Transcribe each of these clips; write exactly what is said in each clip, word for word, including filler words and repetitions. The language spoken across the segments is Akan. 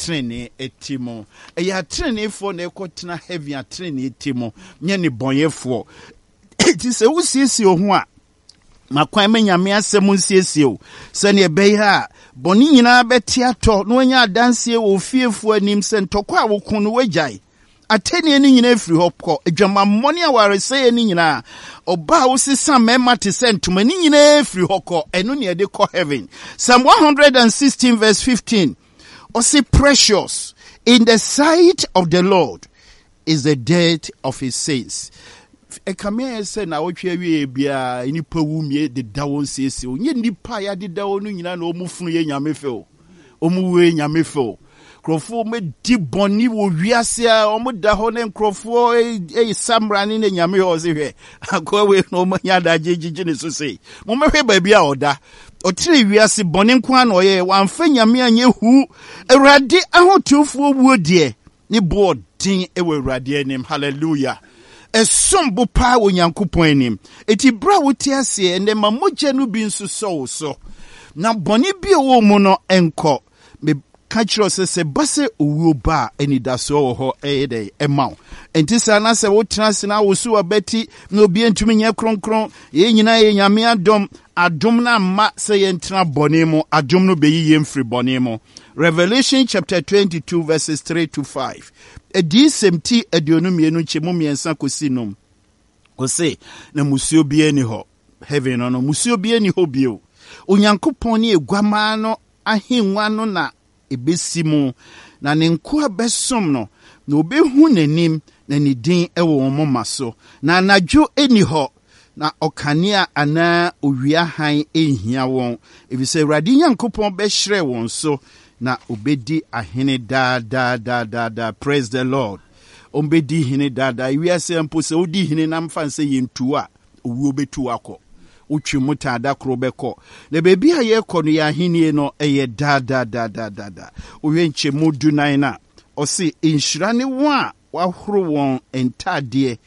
Tenenee te mu. Ɛyɛ ateneneefoɔ na ɛkɔtena heaven a tenenee te mu, nyɛ nnebɔneyɛfoɔ. Enti sɛ wosiesie wo ho a, ma kwan ma Nyame asɛm nsiesie wo sɛnea ɛbɛyɛ a bɔne nyinaa bɛte atɔ na wanya adanseɛ wɔ ofiefoɔ anim sɛ ntɔkwa a woko no woagyae. Atɛnnie no nyinaa firi hɔ kɔ, adwamammɔ ne awaresɛeɛ no nyinaa, ɔbaa a wosesa mmarima te sɛ ntoma no nyinaa firi hɔ kɔ. Ɛno ne ɛde kɔ heaven. Psalm one hundred sixteen verse fifteen, ɔse, "Precious in the sight of the Lord is the death of his saints." Ɛkame ayɛ sɛ na awɔtwe awie biara nnipa wu mie deda wɔn siesie o. Nyɛ nnipa a yɛadeda wɔn no nyinaa na wɔn funu yɛ Nyame fɛ o, wɔn wuo yɛ Nyame fɛ o. Nkurɔfoɔ mɛdi bɔne wɔ wiase a wɔn da hɔ ne nkurɔfoɔ ɛyɛ samra ne ne Nyame hɔ ɔse, hwɛ akoa wei na wɔn anya adagye gyegye ne so sei. Mommɛhwɛ baabi a ɔda. Ɔtene wiase bɔne nko ara na ɔyɛ, wamfa Nyame anyɛ hu. Awurade ahotefoɔ wuo deɛ, ne boɔ den wɔ Awurade anim. Hallelujah! Ɛsom bo paa wɔ Nyankopɔn anim. Eti berɛ a wote aseɛ ɛnɛ, ma mogya no bi nso sɔ wo so na bɔne bi a ɛwɔ mu no nkɔ. Meka kyerɛ sɛ sɛ ba sɛ owuo ba a, anidasoɔ wɔ hɔ ɛyɛ dɛ ɛma wo. Ɛnti saa na sɛ wotena ase na woso wabati na obi ntumi nyɛ kronkron, yɛn nyinaa yɛ Nyame adom. Adom no amma sɛ yɛntena bɔne mu, adom no bɛyi yɛn firi bɔne mu. Revelation chapter twenty-two verses three to five, Adiyisɛm ti aduonu mmienu nkyɛmu mmiɛnsa kɔsi num, ɔse na musuo biara ni hɔ. Heaven no no musuo biara ni hɔ bio. Onyankopɔn ne Aguamaa no ahengua no na ebesi mu, na ne nkoa bɛsom no, na obehu n'anim, na ne din wɔ wɔn moma so. Na anadwo ni hɔ, na ɔkanea anaa owia hann nhia wɔn, efisɛ Awurade Nyankopɔn bɛhyerɛn wɔn so, na obedi ahene daa daa daa daa daa. Praise the Lord! Ɔmbɛdi hene daadaa. Ewiase mpo sɛ wodi hene na mfa nsɛ yɛntu a, owuo bɛtu akɔ, wotwe mu taada koro bɛkɔ. Na baabi a yɛrekɔ no, yɛ ahennie no ɛyɛ daadaadaadaada. Wohwɛ nkyɛmu dunan no a, ɔse nhyira ne wɔn a wahoro wɔn ntadeɛ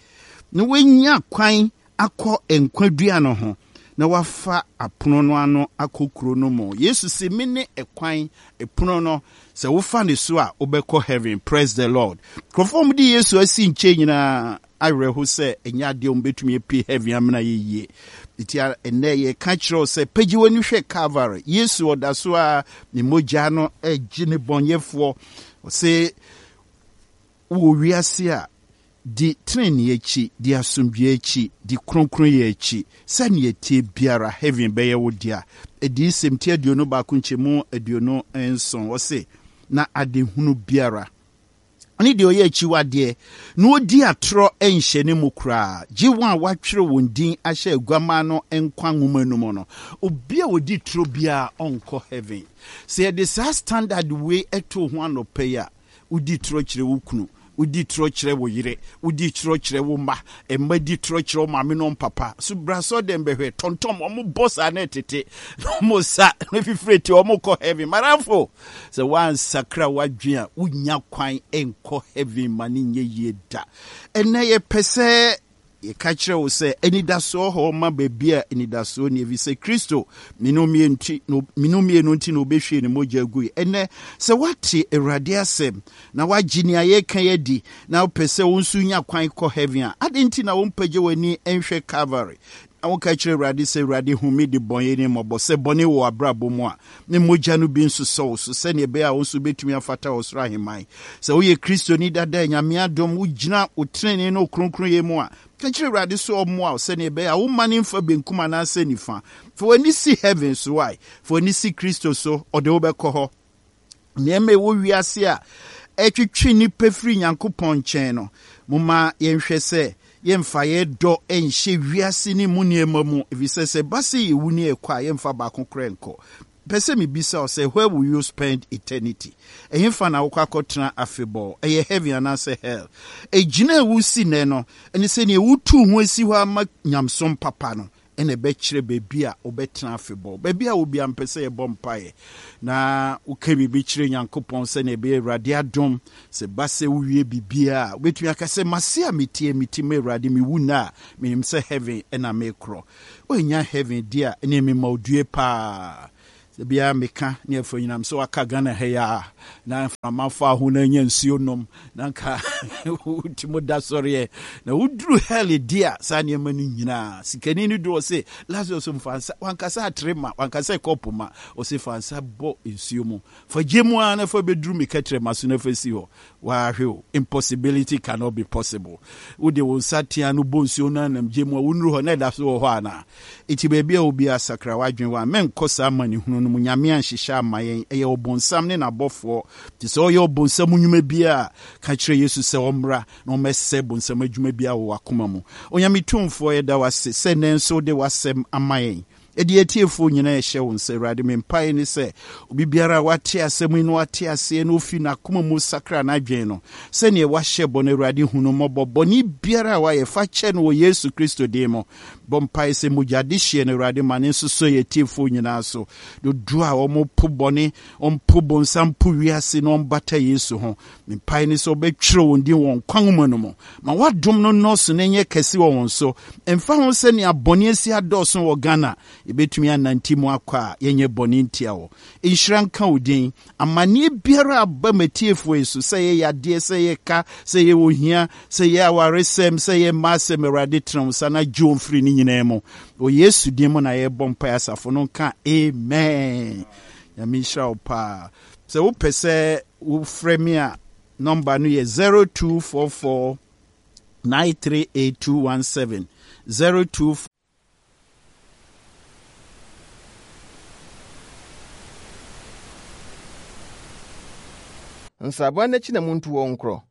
na wɔanya kwan akɔ nkwadua no ho na wafa apono no ano akɔ kuro no mu. Yesu sɛ, "Me ne ɛkwan, ɛpono no, sɛ wofa ne so a, wobɛkɔ heaven." Praise the Lord! Nkurɔfoɔ a wɔde Yesu asi nkyɛn nyinaa awerɛho sɛ ɛnyɛ adeɛ a wɔbɛtumi apue heaven amena yɛ yie. Nti ɛnnɛ yɛka kyerɛ wo sɛ pagye w'ani hwɛ Calvary. Yesu ɔda so a ne mogya no agye ne bɔnyɛfoɔ. Ɔsɛ wowɔ wiase a, di tenenee akyi, di asomdwe akyi, di kronkronyɛ akyi. Sɛnea tie biara, heaven bɛyɛ wo dea. Adiyisɛm ti aduonu baako nkyɛmu aduonu nson, ɔse na adehunu biara ne deɛ ɔyɛ akyiwadeɛ na ɔdi atorɔ nhyɛ ne mu koraa, gye wɔn a wɔatwerɛ wɔn din ahyɛ Aguamaa no nkwa nwoma no mu no. Obi a ɔdi toro biara ɔnkɔ heaven. Sɛ yɛde saa standard wei ɛto ho anɔpɛ yi a, wodi torɔ kyerɛ wo kunu, wodi torɔ kyerɛ wo yere, wodi torɔ kyerɛ wo mma, mma di torɔ kyerɛ wo maame no papa so, bra sɔ dɛm bɛhwɛ tɔntɔm ɔmo bɔ saa na ɛtete na ɔmo sa na fifire ti ɔmo kɔ heaven. Madamfo, sɛ woansakra w'adwen a, wonya kwan nkɔ heaven ma ne nyɛ yie da. Ɛnɛ yɛpɛ sɛ yɛka kyerɛ wo sɛ anidasoɔ hɔ ma baabi a anidasoɔ ni, ɛfiri sɛ Kristo mene mmienu nti na wobɛhwie ne mogya gui. Ɛnɛ sɛ woate Awurade asɛm na woagye nea yɛka yi adi na wopɛ sɛ wo nso nya kwan kɔ heaven a, ade nti na wompagye w'ani nhwɛ Calvary na woka kyerɛ Awurade sɛ, "Awurade, hu me de bɔne ne mmɔbɔ"? Sɛ bɔne wɔ abrabɔ mu a, ne mogya no bi nso sɔ wo so sɛnea ɛbɛyɛ a wo nso wobɛtumi afata wɔ soro ahemman. Sɛ woyɛ Kristoni dada, Nyame adom, wogyina wo tenene ne wo kronkronyɛ mu a, ka kyerɛ Awurade sɛ ɔmmoa wo sɛnea ɛbɛyɛ a woma ne mfa benkum anaasɛ nifa. Fa w'ani si heaven so ae, fa w'ani si Kristo so, ɔde wobɛkɔ hɔ. Nneɛma ɛwɔ wiase a ɛtwitwi nnipa firi Nyankopɔn nkyɛn no, momma yɛnhwɛ sɛ yɛmfa yɛdɔ nhyɛ wiase ne mu nneɛma mu, ɛfiri sɛ sɛ ba sɛ yɛwu ne ɛkɔ a, yɛmfa baako korɛ nkɔ. Pɛ sɛ mebisa wo sɛ, where will you spend eternity? Ɛhefa na wokɔ akɔtena afebɔɔ? Ɛyɛ heaven anaasɛ hell? Ɛgyina a wosi nnɛ no ɛne sɛnea wotu ho asi hɔ ama nyamsom papa no ɛna ɛbɛkyerɛ baabi a wobɛtena afebɔɔ. Baabi a wobia mpɛ sɛ yɛbɔ mpaeɛ na woka biribi kyerɛ Nyankopɔn sɛnea ɛbɛyɛ Awurade adom sɛ ba sɛ wowie biribiaa a, wobɛtumi aka sɛ, "Mase a metie meti ma Awurade, mewu nna a, menim sɛ heaven ɛna mekorɔ." Woanya heaven di a, ɛne mema odue paa. Bia meka ne afa nyinam sɛ waka Ghana ha yi a na mframa fa ho na anya nsuo nom na nka wotumi da sɔreɛ na woduru hell di a, saa nneɛma no nyinaa sikani no du ɔse Lazarus mfa nsa, wankasa atere ma, wankasa kɔpo ma, ɔse fa nsa bɔ nsuo mu, fa gye mu a na fa bɛduru me kɛtrɛ ma so na fa si hɔ. Wahwɛ o, impossibility cannot be possible. Wode wo nsa tea no bɔ nsuo no anam gye mu a, wonuru hɔ na ɛda so wɔ hɔ anaa? Enti baabi a obi asakra w'adwene wɔ a, mɛnkɔ saa amanehunu no mu. Nyame anhyehyɛ ama yɛn, ɛyɛ ɔbonsam ne n'abɔfoɔ. Nti sɛ ɔyɛ ɔbonsam nnwuma bi a, ka kyerɛ Yesu sɛ ɔmmra na ɔmmɛsɛe bonsam adwuma bi a wɔ w'akoma mu. Onyame tumfoɔ, yɛda wo ase sɛ nnɛ nso wode w'asɛm ama yɛn. Ɛde atiefoɔ nyinaa ɛhyɛ wo nsa. Awurade, me mpaeɛ ne sɛ obi biara a wate asɛm yi na wate aseɛ na ofi n'akoma mu sakra n'adwene no sɛneɛ wahyɛ bɔ no, Awurade, hu no mmɔbɔ. Bɔne biara a wayɛ, fa kyɛ no wɔ Yesu Kristo din mu. Bɔ mpaeɛ sɛ mogya adehyeɛ no, Awurade, ma ne nso so yɛ atiefoɔ nyinaa so. Dodoɔ a wɔpo bɔne, ɔmpo bonsam, po wiase na ɔmbata Yesu ho, me mpaeɛ ne sɛ wobɛtwerɛ wɔn din wɔ nkwa nwoma no mu. Ma woadom no nnɔɔso na ɛnyɛ kɛse wɔ wɔn so. Ɛmfa ho sɛnea bɔne asi adɔɔso wɔ Ghana, yɛbɛtumi anante mu akɔ a yɛnyɛ bɔne ntia wɔ. Nhyira nka wo din. Amanneɛ biara aba matiefoɔ yi so, sɛ yɛ yadeɛ, sɛ yɛ ka, sɛ yɛ ohia, sɛ yɛ awaresɛm, sɛ yɛ mma asɛm, Awurade, tena wo nsa na gye wɔn firi ne nyinaa mu. Wɔ Yesu din mu na yɛbɔ mpaeɛ. Asafo no nka amen. Nyame nhyira wo paa. Sɛ wopɛ sɛ wofrɛ me a, nɔmba no yɛ zero two four four nine three eight two one seven, zero two Nsraban no akyi na muntu wɔn nkorɔ,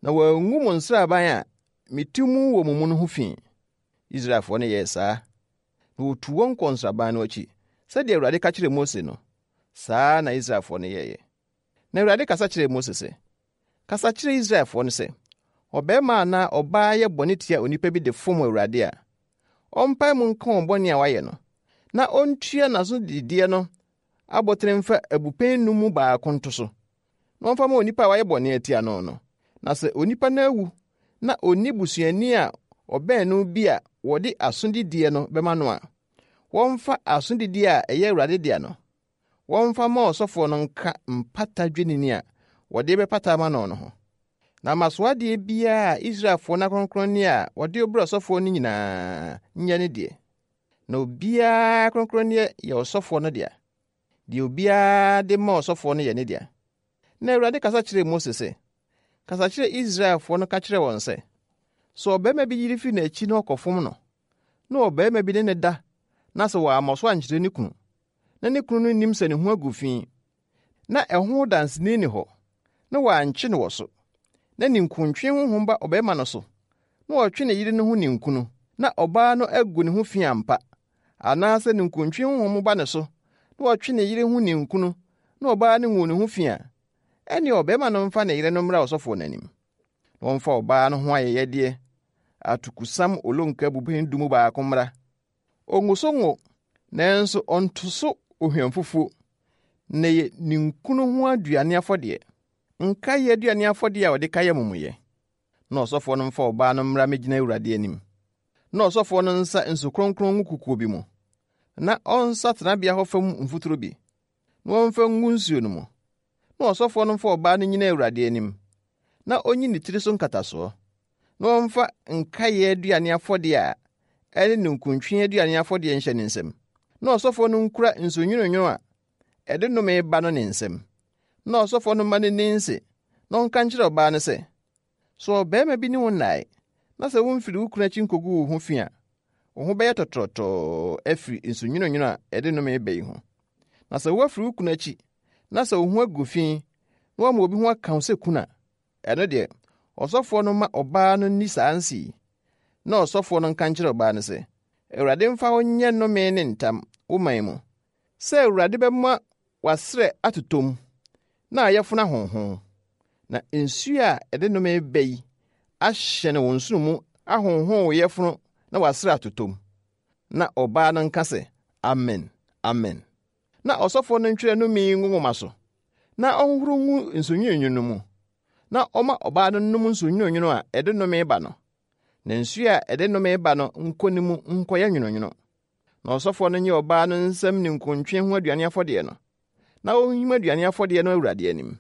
na wɔangu mo nsraban a mete mu wɔ mo mu no ho fi. Israelfoɔ no yɛɛ saa, na wotuu wɔn kɔɔ nsraban no akyi, sɛdeɛ Awurade ka kyerɛɛ Mose no, saa na Israelfoɔ no yɛeɛ. Na Awurade kasa kyerɛɛ Mose sɛ, Kasa kyerɛ Israelfoɔ no sɛ, ɔbarima anaa ɔbaa yɛ bɔne tia onipa bi de fom Awurade a, ɔmpae mu nka wɔn bɔne a wayɛ no, na ɔntua n'asodideɛ no abotene mfa abupɛn num mu baako nto so, na ɔmfa ma onipa a wayɛ bɔne atia no no. Na sɛ onipa no awu na onni busuani a ɔbɛn no bi a wɔde asodideɛ no bɛma no a, wɔmfa asodideɛ a ɛyɛ Awurade dea no, wɔmfa ma ɔsɔfoɔ no nka mpata dwennini a wɔde bɛpata ama no no ho. Na mmasoadeɛ biara a Israelfoɔ no akronkronneɛ a wɔde brɛ ɔsɔfoɔ no nyinaa nyɛ ne deɛ. Na obiara akronkronneɛ yɛ ɔsɔfoɔ no dea. Deɛ obiara de ma ɔsɔfoɔ no yɛ ne dea. Na Awurade kasa kyerɛɛ Mose sɛ, Kasa kyerɛ Israelfoɔ no ka kyerɛ wɔn sɛ, sɛ ɔbarima bi yere firi n'akyi na ɔkɔfom no, na ɔbarima bi ne ne da na sɛ wammɔ so ankyerɛ ne kunu, na ne kunu no nnim sɛ ne ho agu fi, na ɛho danseni nni hɔ, na wɔankye no wɔ so, na ninkuntwe honhom ba ɔbarima no so, na ɔtwe ne yere no ho ninkunu, na ɔbaa no agu ne ho fi ampa, anaasɛ ninkuntwe honhom ba ne so, na ɔtwe ne yere ho ninkunu, na ɔbaa no ngu ne ho fi a, ɛnneɛ ɔbarima no mfa ne yere no mmra ɔsɔfoɔ no anim. Na wɔmfa ɔbaa no ho ayɛyɛdeɛ, atokusam olonka abupɛn du mu baako mmra. Ongu so ngo, nanso ɔnto so ohwamfufuo, na ɛyɛ ninkunu ho aduane afɔdeɛ, nkaeɛ aduane afɔdeɛ a wɔde kae amumuyɛ. Na ɔsɔfoɔ no mfa ɔbaa no mmra mmɛgyina Awurade anim. Na ɔsɔfoɔ no nsa nsu kronkron ngu kukuo bi mu, na ɔnsa tenabea hɔ fam mfuturo bi, na wɔmfa ngu nsuo no mu. Na ɔsɔfoɔ no mfa ɔbaa no nnyina Awurade anim, na onyi ne tiri so nkatasoɔ, na ɔmfa nkaeɛ aduane afɔdeɛ a ɛne ninkuntwe aduane afɔdeɛ nhyɛ ne nsam. Na ɔsɔfoɔ no nkura nsu nwononwono a ɛde nnome ba no ne nsam. Na ɔsɔfoɔ no mma no nni nse, na ɔnka nkyerɛ ɔbaa no sɛ, sɛ ɔbarima bi ne wo nnae, na sɛ womfiri wo kunu akyi nkogu wo ho fi a, wo ho bɛyɛ tɔtorɔtɔɔ afiri nsu nwononwono a ɛde nnome ba yi ho. Na sɛ woafiri wo kunu akyi, na sɛ wo ho agu fi, na woama obi ho aka wo sɛ kunu a, ɛno deɛ, ɔsɔfoɔ no ma ɔbaa no nni saa nse yi. Na ɔsɔfoɔ no nka nkyerɛ ɔbaa no sɛ, Awurade mfa wo nyɛ nnome ne ntam wo man mu, sɛ Awurade bɛma w'asrɛ atotɔ na ayɛfono ahonhon, na nsuo a ɛde nnome ba yi ahyɛne wo nsono mu ahonhon wo yɛfono na w'asrɛ atotɔ mu. Na ɔbaa no nka sɛ, Amen, Amen. Na ɔsɔfoɔ no ntwerɛ nnome yi ngu nwoma so, na ɔnhohoro ngu nsu no mu, na ɔma ɔbaa no nnom nsu nwononwono a ɛde nnome ba no, na nsuo a ɛde nnome ba no nkɔ ne mu nkɔyɛ nwononwono. Na ɔsɔfoɔ no nye ɔbaa no nsam ninkuntwe ho aduane afɔdeɛ no, na ɔnhim aduane afɔdeɛ no Awurade anim.